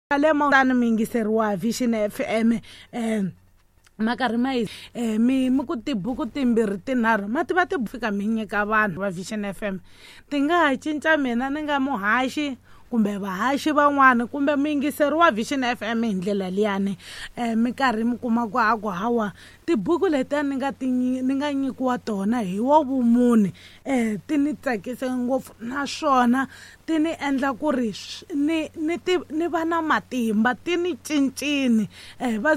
Le tani muyingiseri wa Vision FM, ma karhi ma yi mi ku tibuku timbirhi tinharhu ma tiva ti fika mi nyika vanhu va Vision FM, ti nga ha cinca mina ni nga muhaxi kumbe vahaxi van'wana kumbe muyingiseri wa Vision FM hi ndlela liyani. Mi karhi mi kuma ku a ku hawa tibuku letiya ni nga ti ni nga nyikiwa tona hi wa vumune, ti ni tsakise ngopfu naswona ti ni endla ku ri ni ni ti ni va na matimba, ti ni cincini. Va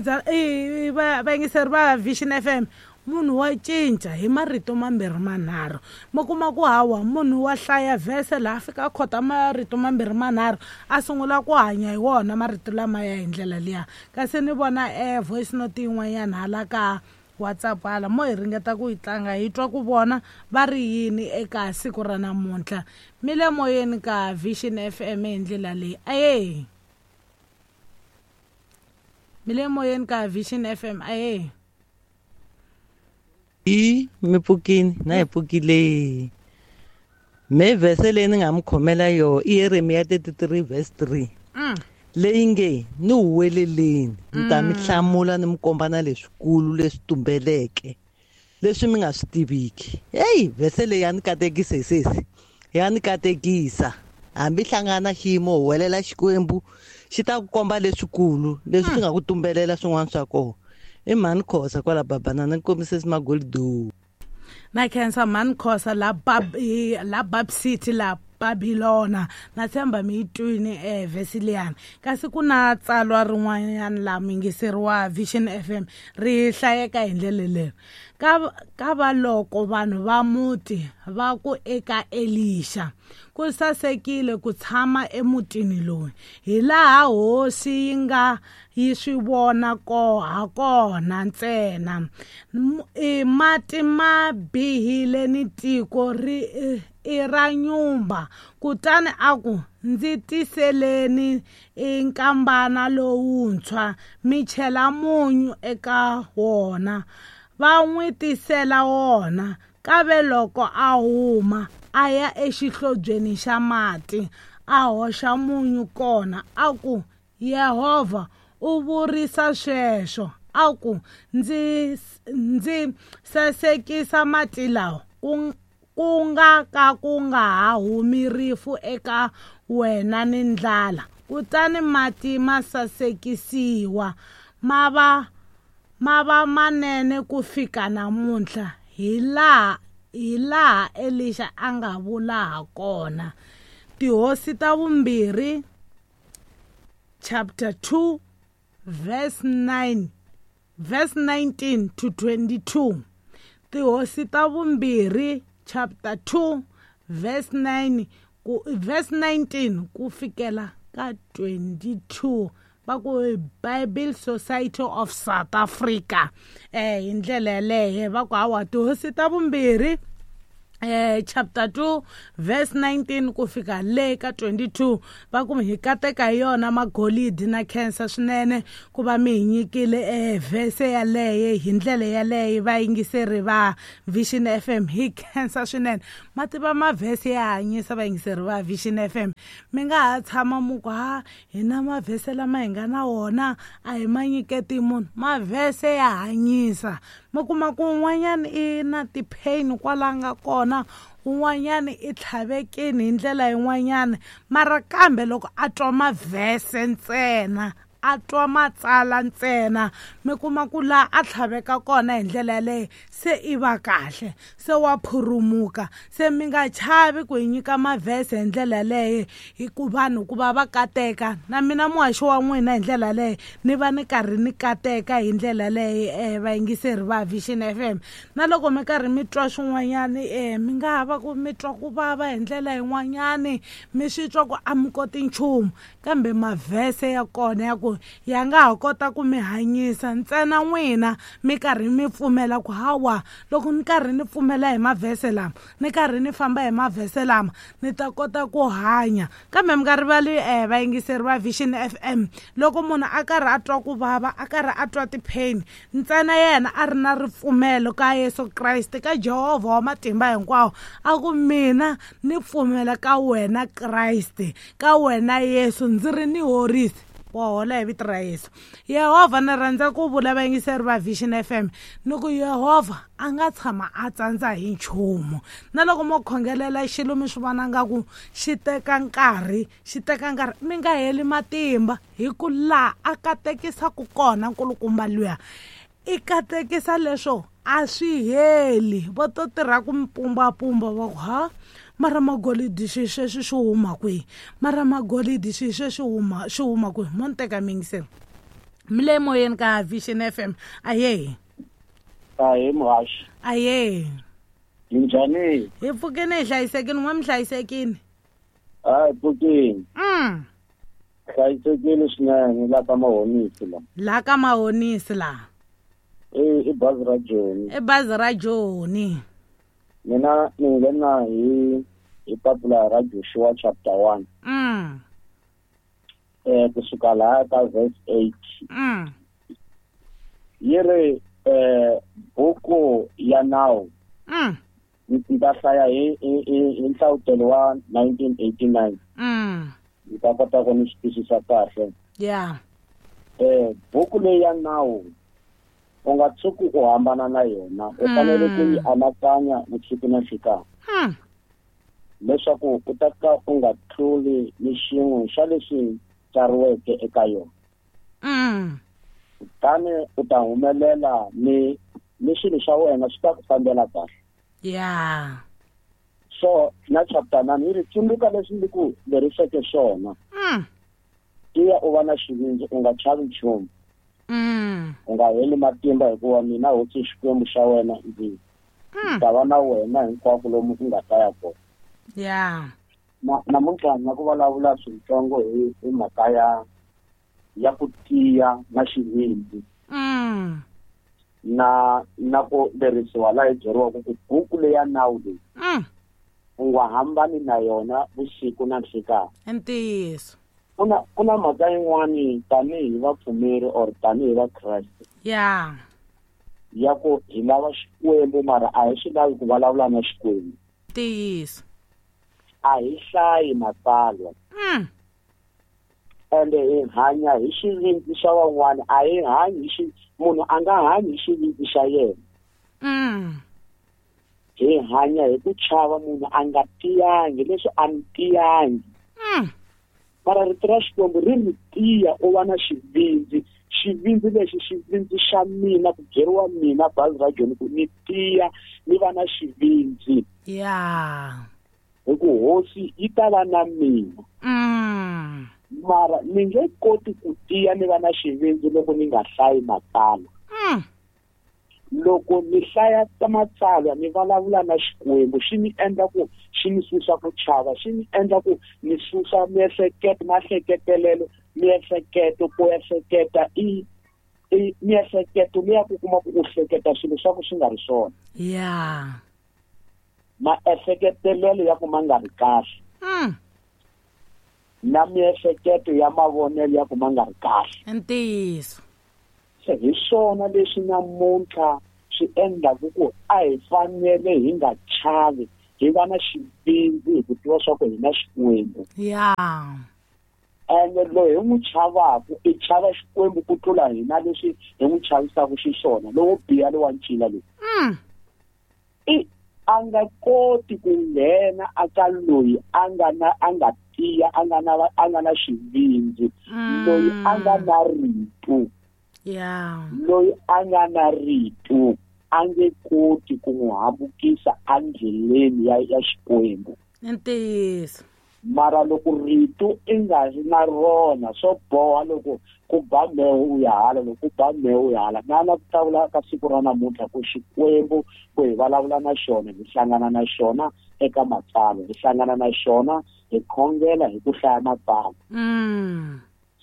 vayingiseri va Vision FM, munhu wa cinca hi marito mambirhi manharhu. Mi kuma ku hawa munhu wa hlaya vhese laha fika a khota marito mambirhi manharhu a sungula ku hanya hi wona marito lamaya hi ndlela liya. Kasi ni vona voice note yin'wanyana hala ka WhatsApp hala, mo hi ringeta ku yi tlanga hi twa ku vona va ri yini eka siku ra namuntlha. Mi le moyeni ka Vision FM hi ndlela leyi. Aye, mi le moyeni ka Vision FM. Aye. I mi pfukini na hi pfukile. Me vhese leyi ni nga mi khomela yo i Yeremiya 33 verse 3. Leyi nge ni huweleleni, ni ta mi hlamula ni mi komba na leswikulu leswi tumbeleke leswi mi nga swi tiviki. Hey, vhese leyi ya ni katekisa sesi, ya ni katekisa. Hambi hlangana xiyimo huwelela Xikwembu xi ta ku komba leswikulu leswi swi nga ku tumbelela swin'wana swa kona. I mhani Khosa kwala Babanana, ni kombise Magoldo. Na khensa mhani Khosa la Bab, la Bab City la Babylona. Na tshemba mi yi twini vhesi liyani. Kasi ku na tsalwa rin'wanyana la muyingiseri wa Vision FM ri hlayeka hi ndlela leyi. Ka va loko vanhu va muti va ku eka Elisha, ku sasekile ku tshama emutini lowu, hi laha hosi yi nga yi swi vona ko ha kona ntsena. Mati ma bihile ni tiko ri i ra nyumba. Kutani a ku, ndzi tiseleni nkambana lowuntshwa mi chela munyu eka wona. Va n'wi tisela wona. Kave loko a huma a ya exihlobyeni xa mati, a hoxa munyu kona, a ku, Yehovha u vurisa sweswo, a ku, ndzi sasekisa mati lawa, ku nga ka ku nga ha humi rifu eka wena ni ndlala. Kutani mati ma sasekisiwa, ma va manene ku fika namuntlha, hi laha Elisha a nga vula ha kona. Tihosi ta vumbirhi chapter 2 verse 9 verse 19 to 22. Tihosi ta vumbirhi chapter 2 verse 9 ku verse 19 ku fikela ka 22. Va ku Bible Society of South Africa. Hi ndlela yaleyo va ku hawa tihosi ta vumbirhi chapter 2 verse 19 ku fika le ka 22. Va ku hi kateka hi yona magolidi na khensa swinene ku va mi hi nyikile verse yaleyo hi ndlela yaleyo. Vayingiseri va Vision FM hi khensa swinene. Ma tiva mavhese ya hanyisa vayingiseri va Vision FM. Mi nga ha tshama mu ku ha hina mavhese lama hi nga na wona a hi ma nyiketi munhu. Mavhese ya hanyisa. Mi kuma ku un'wanyana i na ti-pain kwala nga kona, un'wanyana i tlhavekini hi ndlela yin'wanyana, mara kambe loko a twa mavhese ntsena, a twa matsala ntsena, mi kuma ku laha a tlhaveka kona hi ndlela yaleyo se i va kahle, se wa phurumuka. Se mi nga chavi ku hi nyika mavhese hi ndlela yaleyo, hi ku vanhu ku va va kateka. Na mina muhaxi wa n'wina hi ndlela yaleyo ni va ni karhi ni kateka hi ndlela yaleyo, vayingiseri va Vision FM. Na loko mi karhi mi twa swin'wanyani, mi nga ha va ku mi twa ku vava hi ndlela yin'wanyani, mi swi twa ku a mi koti nchumu, kambe mavhese ya kona ya ku ya nga ha kota ku mi hanyisa ntsena n'wina mi karhi mi pfumela ku hawa loko ni karhi ni pfumela hi mavhese lama, ni karhi ni famba hi mavhese lama, ni ta kota ku hanya. Kambe mi nga rivali vayingiseri va Vision FM, loko munhu a karhi a twa ku vava, a karhi a twa ti-pain, ntsena yena a ri na ripfumelo ka Yesu Kreste, ka Jehovha wa matimba hinkwawo, a ku mina ni pfumela ka wena Kreste, ka wena Yesu, ndzi ri ni horisi. Wa hola hi vito ra Yesu. Yehovha, ni rhandza ku vula vayingiseri va Vision FM ni ku Yehovha a nga tshama a tsandza hi nchumu. Na loko mo khongelela xilo mi swi vona nga ku xi teka nkarhi, xi teka nkarhi, mi nga heli matimba, hi ku laha a katekisaku kona nkulukumba luya i katekisa leswo a swi heli. Va to tirha ku mi pumbapumba va ku ha mara magolidi xi sweswi xi huma kwihi, mara magolidi xi sweswi huma xi huma kwihi. Mo ni teka miyingiseri mi le moyeni ka Vision FM. Aye. Ahe muhaxi. Aye. Minjhani? Hi pfukini, hi hlayisekini. N'we mi hlayisekini? Hi pfukini. Hlayisekile swinene la ka Mahonisi la. La ka Mahonisi la. I bazi ra Joni. I bazi ra Joni. Mina ni nghena hi papila ra Joshua chapter 1. Kusuka laha ka verse 8. Yi ri buku ya nawu. Ni ta hlaya hi nhlavutelo wa 1989. Ni ta kota ku ni swi twisisa kahle. Buku leyi ya nawu u nga tshuki u hambana na yona, u fanele ku yi anakanya vusiku na nhlikani, leswaku u ta ka u nga tluli ni xin'we xa leswi tsariweke eka yona. Kutani u ta humelela ni swilo swa wena swi ta ku fambela kahle. So na chapter 9 yi ri tsundzuka leswi ndzi ku leriseke swona. Tiya u va na xivindzi, u nga chavi nchumu. U nga heli matimba, hikuva mina hosi Xikwembu xa wena ndzi ta va na wena hinkwako lomu u nga ta ya kona. Namuntlha na ku vulavula swintsongo hi mhaka ya ku tiya na xivindzi. Na ku lerisiwa laha hi byeriwaka ku buku leyi ya nawu leyi u nga hambani na yona vusiku na nhlikani. Ntiyiso. Ku na mhaka yin'wani tanihi vapfumeri or tanihi vakreste. Ya ku hi lava Xikwembu mara a hi swi lavi ku vulavula na Xikwembu. Ntiyiso. A hi hlayi matsalwa. Ende hi hanya hi xivindzi xa van'wana, a hi hanyi hi munhu a nga hanyi hi xivindzi xa yena. Hi hanya hi ku chava munhu a nga tiyangi, leswi a ni tiyangi. Mara rito ra Xikwembu ri ri tiya u va na xivindzi. Xivindzi lexi, xivindzi xa mina, ku byeriwa mina bazi ra Joni ku ni tiya ni va na xivindzi. Hi ku hosi yi ta va na mina. Mara ni nge koti ku tiya ni va na xivindzi loko ni nga hlayi matsalwa. Loko ni hlaya matsalwa ni vulavula na Xikwembu, xi ni endla ku xi ni susa ku chava, xi ni endla ku ni susa miehleketo, mahleketelelo, miehleketo, ku ehleketa i miehleketo leya ku kuma ku u hleketa swilo swa ku swi nga ri swona. Maehleketelelo ya ku ma nga ri kahle. Na miehleketo ya mavonelo ya ku ma nga ri kahle. Ntiyiso. Se hi swona leswi namuntlha swi endlaku ku a hi fanele hi nga chavi, hi va na xivindzi hi ku tiva swa ku hi na Xikwembu. Ende loyi hi n'wi chavaku i chava Xikwembu ku tlula hina leswi hi n'wi chavisaka xiswona, lowo biha lowa ncila loyi. I a nga koti ku nghena aka loyi a nga na a nga tiya, a nga na xivindzi, loyi a nga na rito. Loyi a nga na rito a nge koti ku n'wi hambukisa endleleni ya Xikwembu. Ntiyiso. Mara loko rito i nga ri na rona, swo boha loko ku ba mheho u ya hala, loko ku ba mheho u ya hala. Na la ku tavula ka siku ra namuntlha ku Xikwembu ku hi vulavula na xona, hi hlangana na xona eka matsalwa, hi hlangana na xona hi khongela hi ku hlaya matsalwa.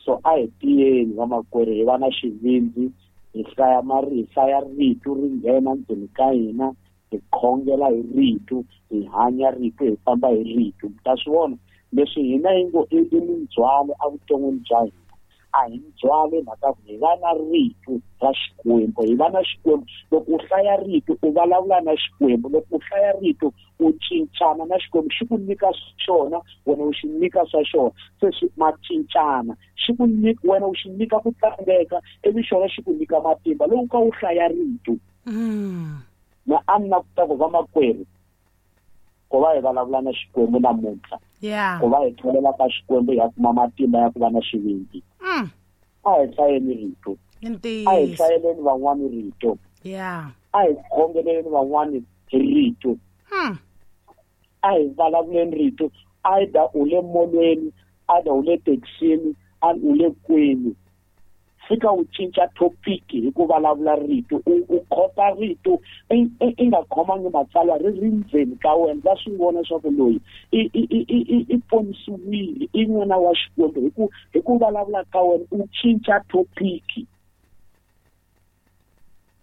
So a hi tiyeni vamakwerhu, hi va na xivindzi, hi hlaya hi hlaya rito ri nghena ndzeni ka hina, hi khongela hi rito, hi hanya rito, hi famba hi rito. Mi ta swi vona leswi hina hi ngo i mindzhwalo evuton'wini bya hina. A hi ndzhwalo hi mhaka ku hi va na rito ra Xikwembu, hi va na Xikwembu. Loko u hlaya rito u vulavula na Xikwembu, loko u hlaya rito u cincana na Xikwembu, xi ku nyika xona, wena u xi nyika swa xona. Se swi ma cincana, xi ku nyika wena u xi nyika ku tlangeka, ivi xona xi ku nyika matimba loko ka u hlaya rito. Na a ni na ku ta ku vamakwerhu ku va hi vulavula na Xikwembu namuntlha, ku va hi tlhelela ka Xikwembu hi ya kuma matimba ya ku va na xivindzi. A hi hlayeni rito, a hi hlayeleni van'wani rito, a hi khongeleleni van'wani rito, a hi vulavuleni rito. Either u le molweni, either u le taxini, u le kwini, fika u cinca topic hi ku vulavula rito, u khota rito i nga khomangi matsalwa ri ri ndzeni ka wena. Va swi vona leswaku loyi i ponisiwile, i n'wana wa Xikwembu. Hi ku vulavula ka wena u cinca topic.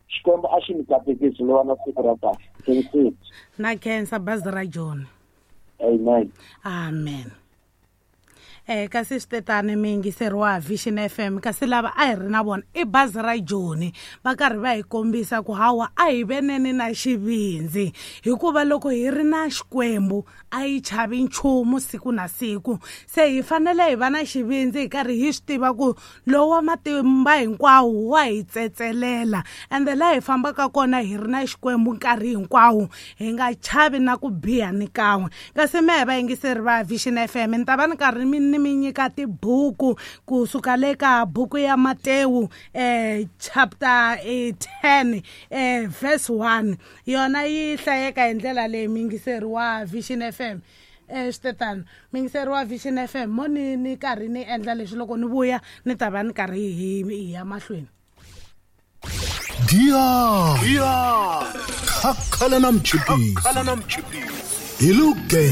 Xikwembu a xi mi katekisi, mi va na siku ra kahle. Na khensa bazi ra John. Amen. Amen. Kasi switetani mi yingiseriwa Vision FM, kasi lava a hi ri na vona i bazi ra Joni, va karhi va hi kombisa ku hawa a hi veneni na xivindzi, hikuva loko hi ri na Xikwembu a yi chavi nchumu siku na siku. Se hi fanele hi va na xivindzi hi karhi hi swi tiva ku lowa matimba hinkwawo wa hi tsetselela, ende laha hi fambaka kona hi ri na Xikwembu nkarhi hinkwawo, hi nga chavi na ku biha ni kan'we. Kasi mehe vayingiseri va Vision FM, ni ta va ni karhi ni mi nyika tibuku kusuka le ka buku ya Matewu chapter 10 verse 1. Yona yi hlayeka hi ndlela leyi, muyingiseri wa Vision FM. Switetano muyingiseri wa Vision FM, mo ni karhi ni endla leswi, loko ni vuya ni ta va ni karhi hi ya mahlweni. Giya khakhala na mchipisi hi luge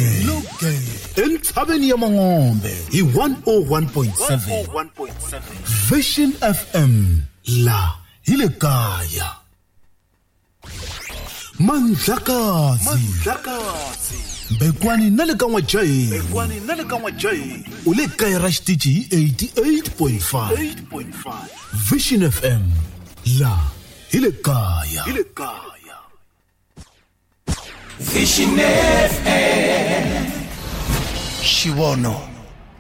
entshaveni ya Mangombe hi 101.7 Vision FM, la hi le kaya. Mandlakazi Bekwani na le ka N'wajaheni, u le kaya ra xitichi hi 88.5 Vision FM, la hi le kaya. Vision FM, Xivono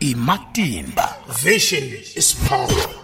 i matimba. Vision is power.